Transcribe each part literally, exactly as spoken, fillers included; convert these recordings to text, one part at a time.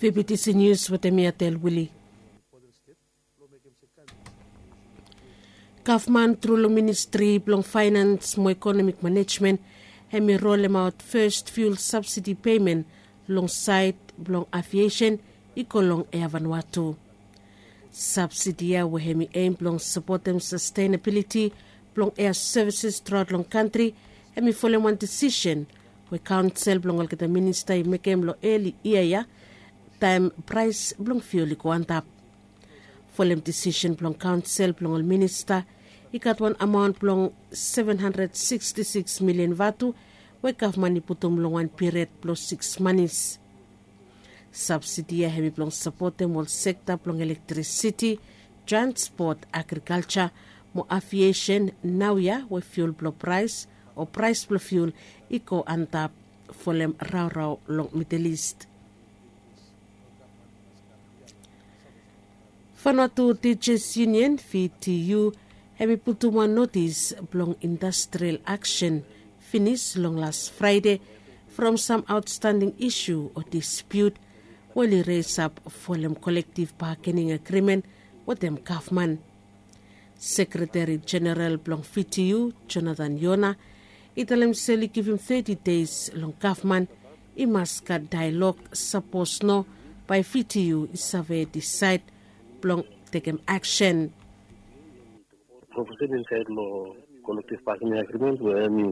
Vptc nius wetem mi atel wili. Gavman tru long ministri blong fainans mo ekonomik manejmen hem i rolemaot fes fiul sabsidi pemen long saed blong aviesen i go long ea vanua tu. Sabsidi ya we hem i em blong sapotem sastenabiliti blong ea sevises truaot long kantri hem i folem wan disisen we kaonsel blong olgeta minista i mekem long eli yia ya taem praes blong fiul i go antap. Folem disisen blong kaonsel blong ol minista i gat wan amaon blong seven hundred sixty six milian vatu we gavman i putum long wan piried blong siks manis. Sabsidi ya hem i blong sapotem ol sekta blong elektrisiti, transpot, agrikalja mo aviesen naoia we fiul blong praes o praes blong fiul i go antap folem raorao long Midel Ist. Vanuatu Tijas Yunian, VTU, hem i putum wan notis blong industrial aksen finis long las Fraede from sam aotstanding isu o dispiut we oli resap folem kolektiv bagening agrimen wetem gavman. Sekreteri Jeneral blong VTU, Jonathan Yona, i talem se oli givim teti deis long gavman i mas gat daelog, sapos no bae VTU i save disaed blong tekem aksen. Profesen insaed long kolektiv bagening agrimen we hem i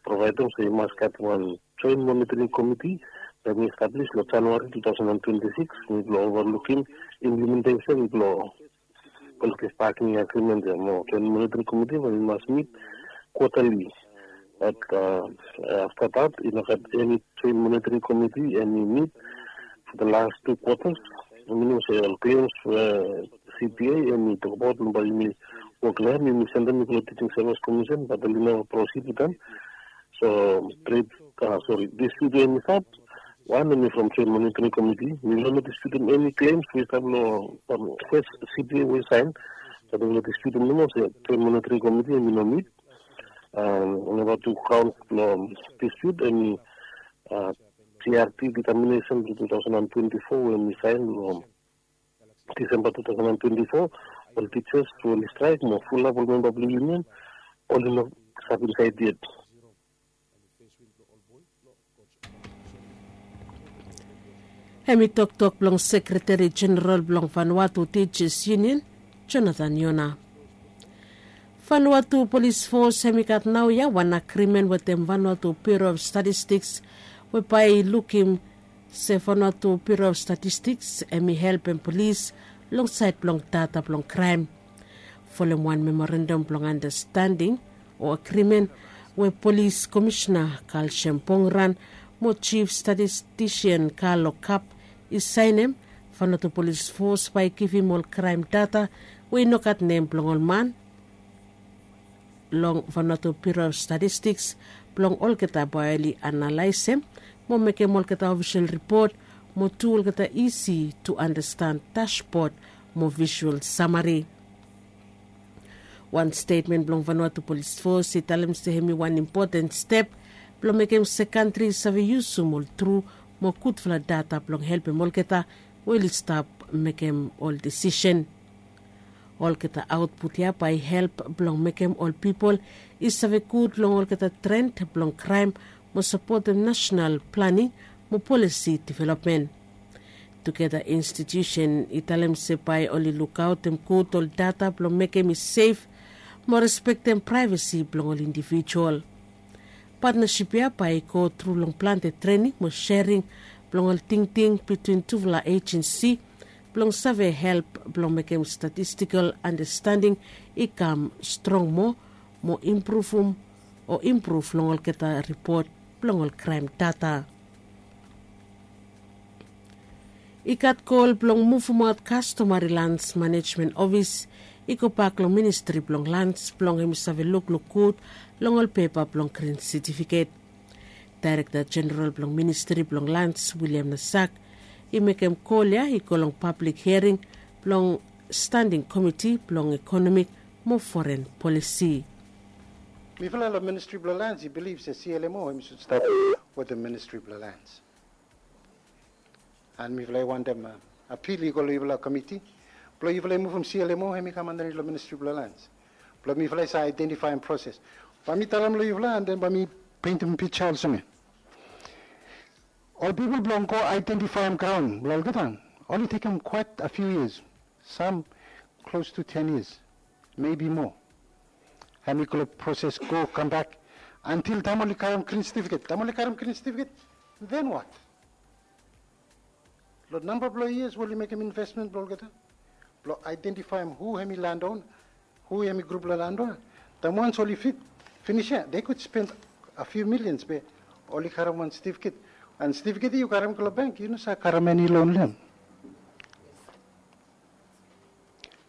provaedem se i mas gat wan joen monitoring komiti we hem i establis long Januari two thousand and twenty six, mi blong ovalukim implementesen blong kolektiv bagening agrimen ya mo joen monitoring komiti we hem i mas mit kwatali. Bat afta dat i no gat eni joen monitoring komiti hem i mit for the last two quarters. Minim se ol klems we CPA hem i tokbaot long bae yumi wok long hem, yumi sendem i go long Teaching Service Commission, bat oli no prosid wetem. So tret, sori, dispute we hem i stap, wan hem i from joen monitoring komiti. Mi no disputem eni klems we i stap long fes CPA we i saen. Bat mi no disputem nomo se joen monitoring komiti hem i no mit. Namba tu kaon blong dispute hem i GRT determinesen blong two thousand and twenty four we hem i saen long Disemba two thousand and twenty four. Ol tijas we oli straek mo fulap ol memba blong yunian oli no stap insaed yet. Hem i toktok blong Sekreteri Jeneral blong Vanuatu Tijas Yunian, Jonathan Yona. Vanuatu Polis Fos hem i gat naoia wan agrimen wetem Vanuatu Biuro of Statistiks we bae i lukim se Vanuatu Biuro of Statistiks hem i helpem polis long saed blong data blong kraem. Folem wan memorandam blong andastanding o agrimen we Polis Komisena Kalsem Pongran mo Jif Statistisian Kalo Kap i saenem, Vanuatu Polis Fos bae i givim ol kraem data we i no gat nem blong ol man long Vanuatu Biuro of Statistiks blong olgeta bae oli analaesem mo mekem olgeta ofisol ripot mo tu olgeta isi tu andastan dasbod mo visual samari. Wan stetmen blong Vanuatu Polis Fos i talem se hem i wan impoten step blong mekem se kantri i save yusum ol tru mo gudfala data blong helpem olgeta we oli stap mekem ol disisen. Olgeta aotput ya bae i help blong mekem ol pipol i save gud long olgeta tren blong kraem mo sapotem nasenal planing mo polisi developmen. Tugeta institusen i talem se bae oli lukaotem gud ol data blong mekem i sef mo respektem praevesi blong ol indivijual. Patnasip ya bae i go tru long plante trening mo sering blong ol tingting bitwin tufala ejensi blong save help blong mekem statistikel andastanding i kam strong moa mo impruvum o impruv long olgeta ripot blong ol kraem data. I gat gol blong muvumaot kastomari lans manejmen ofis i gobak long ministri blong lans blong hem i save lukluk gud long ol pepa blong grin setifiket. Daerekta Jeneral blong Ministri blong Lans, William Nasak, i mekem gol ya i go long pablik hiaring blong Standing Komiti blong Ekonomik mo Foren Polisi. Mifala long Ministri blong Lans i bilif se CLMO hem i sud stap wetem Ministri blong Lans. And mifala i wantem apil i go long yufala komiti blong yufala i muvum C L M O hemi kam andanit long Ministri blong Lands blong mifala i save aedentifaem proses. Bae mi talem long yufala and den bae mi peintem pija olsem ya. Ol pipol blong go aedentifaem graon blong olgeta oli tekem quite a few years, some close to ten years, maybe more. Hemi go long proses go kambak antil taem oli karem grin setifiket. Taem oli karem grin setifiket, then what? Long namba blong yias we oli mekem invesmen blong olgeta blong aedentifaem hu hemi landona, hu hemi grup blong landona. Taem wans oli fit finis ya, they could spend a few millions be oli karem wan setifiket. And setifiket ya yu karem go long bank, yu no save karem eni loan long hem.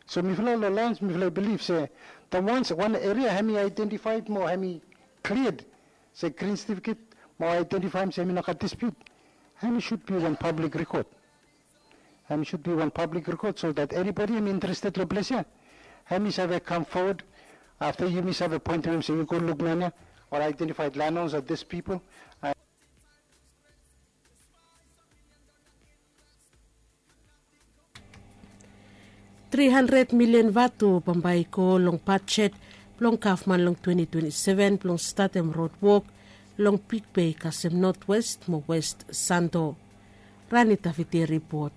So mifala long Lands mifala i bilif se taem wans wan eria hemi aedentifaed mo hemi kliad se grin setifiket mo aedentifaem se hemi no gat dispute, hemi should be wan pablik rekod. Hemi should be wan pablik rekod so that anybody hemi interested long ples ya hemi save kam fowod afta yumi save poentem hem se yu go luk man ya, ol aedentifaed landonas of this pipol. Tri handred milian vatu bambae i go long bajet blong gavman long twenti twenti seven blong statem rod wok long Big Bay kasem Notwest mo West Santo. Rani Tafiti ripot.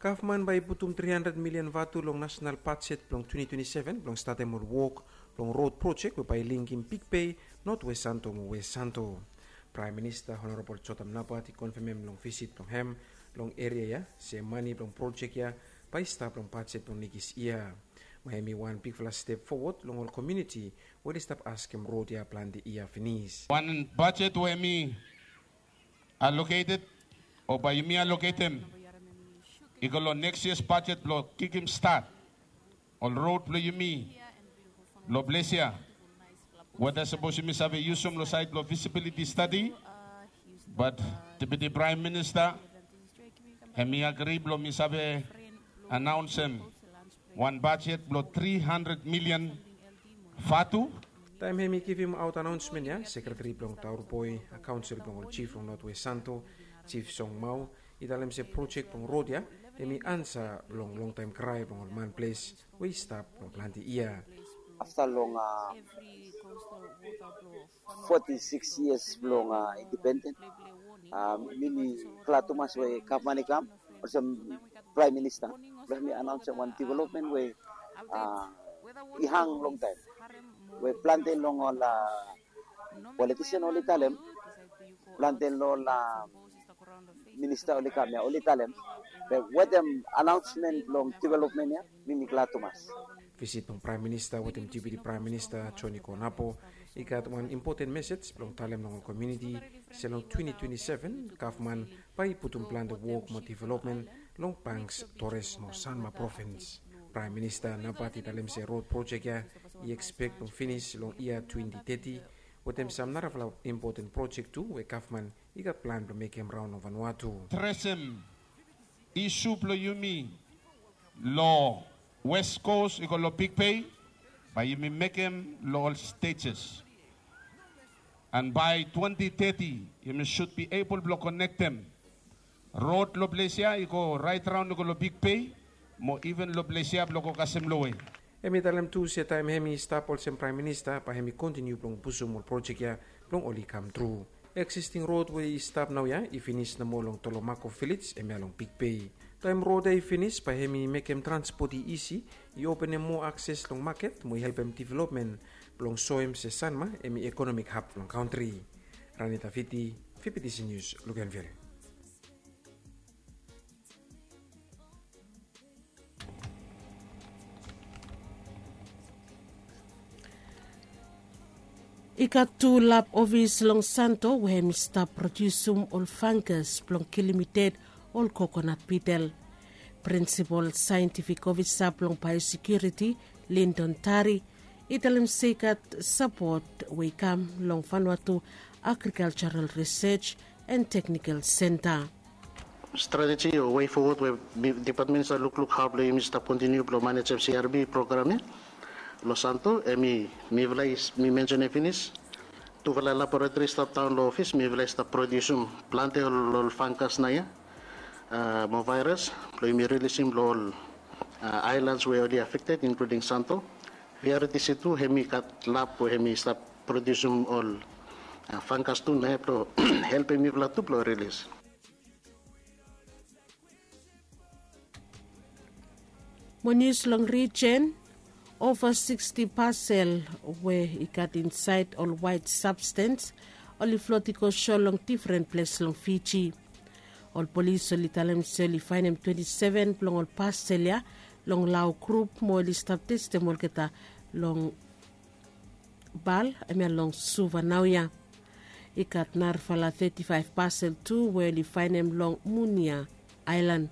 Gavman bae i putum tri handred milian vatu long nasonal bajet blong twenti twenti seven blong statem ol wok blong rod projek we bae i linkim Big Bay, Notwest Santo mo West Santo. Praem Minista Honorabol Jotam Napat i konfemem long visit blong hem long eria ya se mane blong projek ya bae i stap long bajet blong nekis yia. Mo hemi wan bigfala step fowod long ol komuniti we oli stap askem rod ya plante yia finis. Wan bajet we hemi aloketed o bae yumi aloketem i go long neks yia bajet blong kikim stat ol rod blong yumi long ples ya. Weta sapos yumi save yusum long saed blong visibiliti stadi, bat Deputi Praem Minista hemi agri blong mi save anaonsem wan bajet blong tri handred milian vatu. Taem hemi givimaot anaonsmen ya, sekreteri blong Taur Boe, kaonsel blong ol jif long Notwest Santo, Jif Song Mau, i talem se projek blong rod ya hemi ansa blong longtaem krae blong ol man ples we i stap long plante yia. Afta long foti sikis yias blong indipenden, mi mi glad tumas we gavman i kam olsem Praem Minista blong mi anaonsem wan developmen we i hang longtaem, we plante long ol politisen oli talem, plante long ol minista oli kam ya oli talem. Be wetem anaonsmen blong developmen ya mi mi glad tumas. Visit blong Praem Minista wetem Deputi Praem Minista Joni Konapo i gat wan impoten mesej blong talem long ol komuniti se long twenti twenti seven gavman bae i putum plante wok mo developmen long Banks, Torres mo Sanma provins. Praem Minista Napat i talem se rod projek ya i ekspek blong finis long yia twenti teti, wetem sam narafala impoten projek tu we gavman i gat plan blong mekem raon long Vanuatu. Adresem isu blong yumi long West Coast i go long Big Bay, bae yumi mekem long ol stejes. And bae twenti teti yumi should be able blong konektem rod long ples ya i go raet raon i go long Big Bay mo iven long ples ya blong go kasem lowe. Hemi talem tu se taem hemi stap olsem Praem Minista bae hemi kontiniu blong pusum ol projek ya blong oli kamtru. Eksisting rod we i stap naoia i finis nomo long Tolomako Vilej, hemia long Big Bay. Taem rod ya i finis bae hemi mekem transpot i isi, i openem moa akses long maket mo i helpem developmen blong soem se Sanma hemi ekonomik hab blong kantri. Rani Tafiti, V B T C News, Luganville. I gat tu lab ofis long Santo we hemi stap prodiusim ol fangas blong kilim i ded ol kokonat bidel. Prinsipol saentifik ofisa blong baeosekiuriti, Lindon Tari, i talem se i gat sapot we i kam long Vanuatu Agrikaljaral Risej and Teknikal Senta. Strateji o wei fowod we dipatmen i save lukluk hao blong yumi stap kontiniu blong manejem C R B program ya long Santo, hemi mifala i, mi mensenem finis, tufala laboratori i stap daon long ofis, mifala i stap prodiusim plante ol, ol fangas naoia. mo vairas blong yumi rilisim long ol ailans we oli afekted, inkluding Santo. Prioriti tu hemi gat lab we hemi stap prodiusim ol fangas tu na hem blong helpim mifala tu blong rilis. Mo nius long rijen, ova siksti pasel we i gat insaed ol waet sabstens oli flot i go so long difren ples long Fiji. Ol polis oli talem se oli faenem twenti seven blong ol pasel ya long lao grup mo oli stap testem olgeta long bal hemia long Suva naoia. I gat narafala teti faef pasel tu we oli faenem long Munia aelan.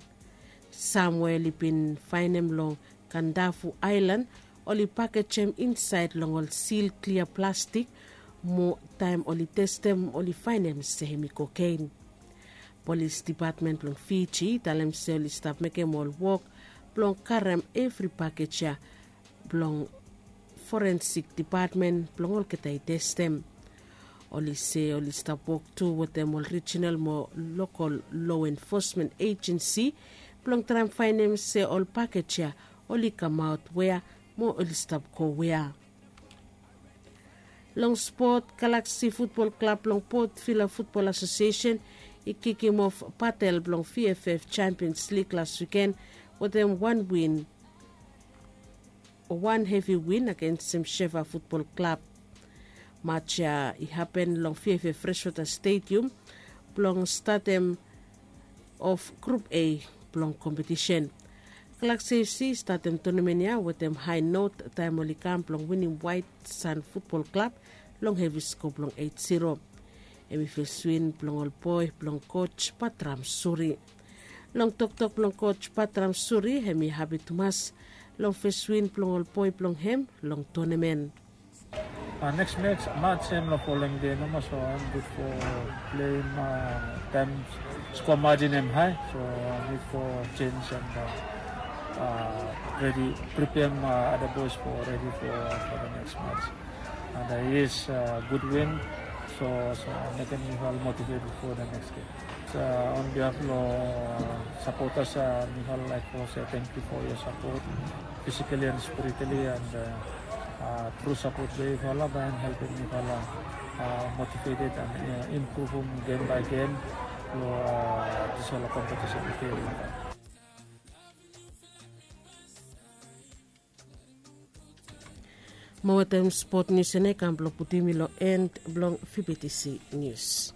Sam we oli bin faenem long Kandafu aelan oli pakejem insaed long ol sil klia plastik, mo taem oli testem oli faenem se hemi kokein. Polis depatmen blong Fiji i talem se oli stap mekem ol wok blong karem evri pakej ya blong forensik depatmen blong olgeta i testem. Oli se oli stap wok tu wetem ol rijinal mo lokol loa enfosmen ejensi blong traem faenem se ol pakej ya oli kamaot wea mo oli stap go wea. Long spot, Galaksi Futbol Klab blong Port Vila Futbol Asosiesen i kikim of batel blong VFF Champions Lig las wiken wetem wan win, wan hevi win agensem Sheva Futbol Klab. Maj ya i hapen long VFF Freshwater Stadium blong statem of Grup A blong kompetisen. Galaksi FC i statem tonamen ya wetem hae not taem oli kam blong winim Waet San Futbol Klab long hevi sko blong eit ziro. Hemi fes win blong ol boe blong koj Patram Suri. Long toktok blong koj Patram Suri, hemi hapi tumas long fes win blong ol boe blong hem long tonamen. Neks maj hem long folem dei nomo, so hem gud fo pleim taem skoa majin hem hae, so nid fo jenj and redi, pripeam ada boes fo redi fo da neks maj. And yes, gud win, so mekem mifala motiveted fo da neks gem. On behalf long sapotas, mifala laek fo se tangkiu fo yua sapot, fisikali and spiritali, and tru sapot blong yufala bae hem helpem mifala motiveted and impruvum gem bae gem long disfala kompetisen i fei long taem. Mo wetem spot nius ya nao i kam blong putum mi long en blong VBTC nius.